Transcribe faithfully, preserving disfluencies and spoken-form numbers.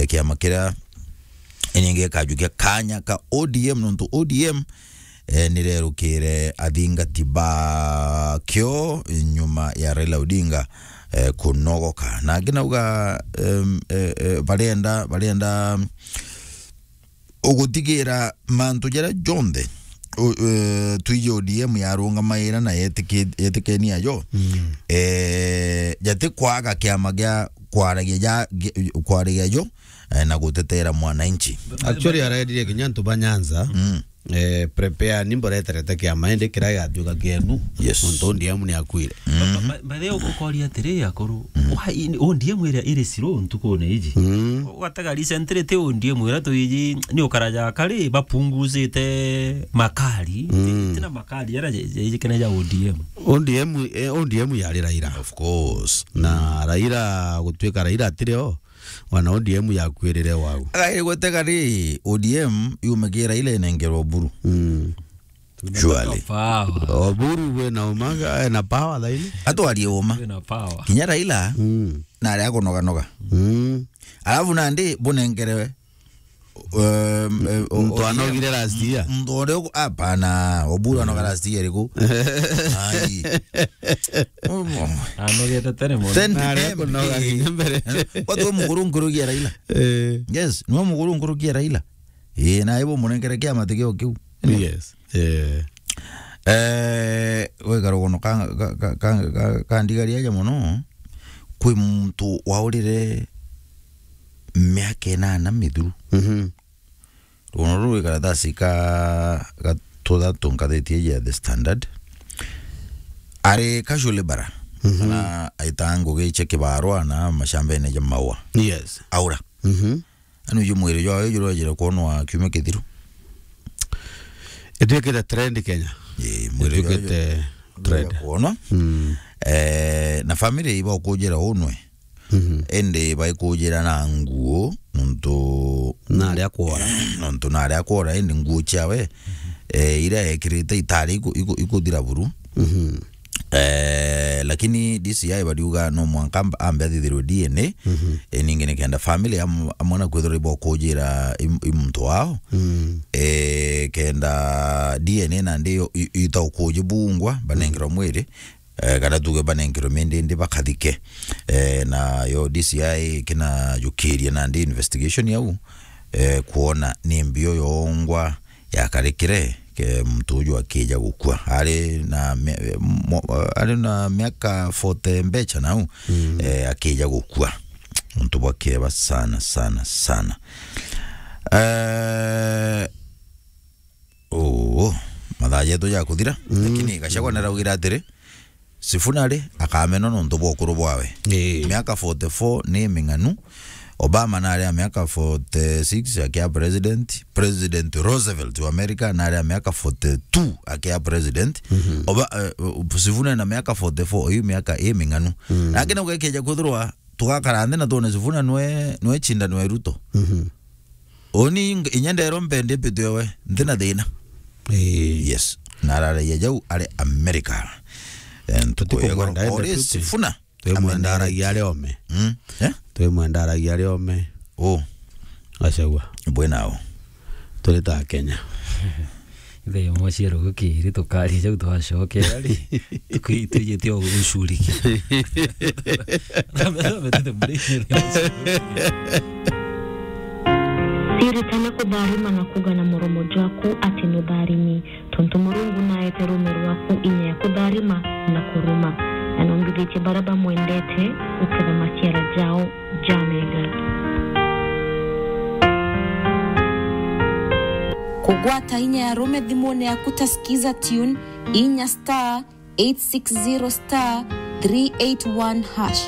eh, kiama kiria iningi gikajukia kanya ka O D M, nontu O D M, eh, nirerukire athingati bakio nyuma ya Raila Odinga, eh, kunogoka. Na angi nauga, em, eh, eh, barenda, barenda ugutigira mantu jaria jonthe, u-, eh, twiji O D M yarungamaira na yetiki-, yetikenia jo, mm, eh, jati kwaga kiama gia kwaragia ja, gi-, kwaragia jo, eh, na gutetera mwananchi. Actually, arendire kinya antu ba Nyanza, mm, eh, prepare ni mboreterete kiama, indi kiria gigatwika kienu, yes, nontu O D M ni akuire. Mm. Ba-, ba-, by the way, ukoria atiri, akuru, mm, why in-, O D M iria iri slow ntukune iji? Mm. Ugatega recently ti O D M iria twiji, ni ukaraja kari, bapunguzite makari, mm, ti-, tina makari, jaria je-, je-, jikene ja O D M. O D M, eh, O D M yari Raila. Of course. Na Raila, gutwika Raila atiri o, wana O D M yakwirire wau. Agaire gutega ri, O D M yumagira Raila inengerwa Oburu. Mm. Surely. Power. Oburu we na umaga, eh, na power thaini. Atwarie uma. We na power. Kinya Raila, mm, na aria akunoganoga. Mm. Alafu nandi bunengerewe, um, eh, o-, muntu o-, anogire last year. Muntu uria uku-, hapana, Oburu anoga last year iriku? Ai. Anogete tene mono. Then, na aria akunoga kinya mbere. Watu we mukuru nkurugia Raila. Eh. Yes, niwe mukuru nkurugia Raila. Ii, na ibo munengere kiama tikio kiu. Yes. Eh. Eh, we karugono ka, ka, ka, ka, ka, kandigaria aja mono, kwi muntu waurire miaka inana mithuru. Mhm. Rugono ruu rwi karatasi ka, ga tuthatu ngatheti ya The Standard. Ari casual laborer. Mhm. Na aita ngugi cia kibarua na mashambene ja maua. Yes. Aura. Mhm. Anu ju mwiri jwawe jurejire kwonwa kiumia kithiru. Itwikite trend Kenya. Ii, mwiri jwawe ituikite ju-, trend. Kwonwa. Mm. Eh, na family iba ukujira unwe. Mhm. Indi baikujira na nguo, nontu na aria kwora. Nontu na aria kwora, indi nguo ciawe, eh, iria ekirite itari iku-, iku-, ikuthira buru. Mhm. Eh, lakini D C I bariuga no mwanka amb-, ambe athithirwe D N A, mhm, eh, ningi nikenda family am-, amwe na kwithirwa ibokujira i m-, i muntu wao, mm, eh, kenda D N A nandi yo i-, ita ukujibungwa, banengerwa mwiri, eh, kana tuge banengerwe mindindi bakathike. Eh, na yo D C I kinajukirie nandi investigation yau, eh, kwona ni mbio yongwa yakarikire ke muntu uju akija gukua. Ari na mi-, mo-, ari na miaka forty mbecha nau, mm, eh, akija gukua. Muntu bwa kieba sana, sana, sana. Eh, oo, mathaa jetu jakuthira, mm, lakini Gachagua naraugire atiri, Sifuna ri, akamena nontu bwa ukuru bwawe. Ii. Miaka forty-four ni ming'anu. Obama nari a miaka forty-six akia president. President Roosevelt wa America nari a miaka forty-two akia president. Mhm. Oba-, eh, Sifuna ena miaka forty-four, iu miaka i ming'anu. Mm. Lakini ugekeja kwithirwa tugakara nthi na twone Sifuna nwe, nwe cindano e Ruto. Mhm. Uni ing-, inya nderwa mpende mpitwe we, ntina thina. Ii. Yes. Na araragia jau ari America. Eh, ntuku ya goro. Tutikumwenda ende ori tu, Sifuna. Twimwenda aragia ari ome. Mm. Eh? Twimwenda aragia ari ome. Oh. Gachagua. Bwe nao. Turi ta Kenya. Ithe ya mwaciaro gukiri tukaria jau twacokera ri. Tukwi-, twijitie o gucuriki. Ciritana kutharima na kuuga na muromo jwaku ati nutharimi, tontu Murungu naete ruume rwaku inya ya kutharima na kuruma, na numbithitie baria bamwendete guketha maciara jao jamega. Kugwata inya ya ruume thimune yaku ta Skiza Tune, inya star eight six zero star three eight one hash.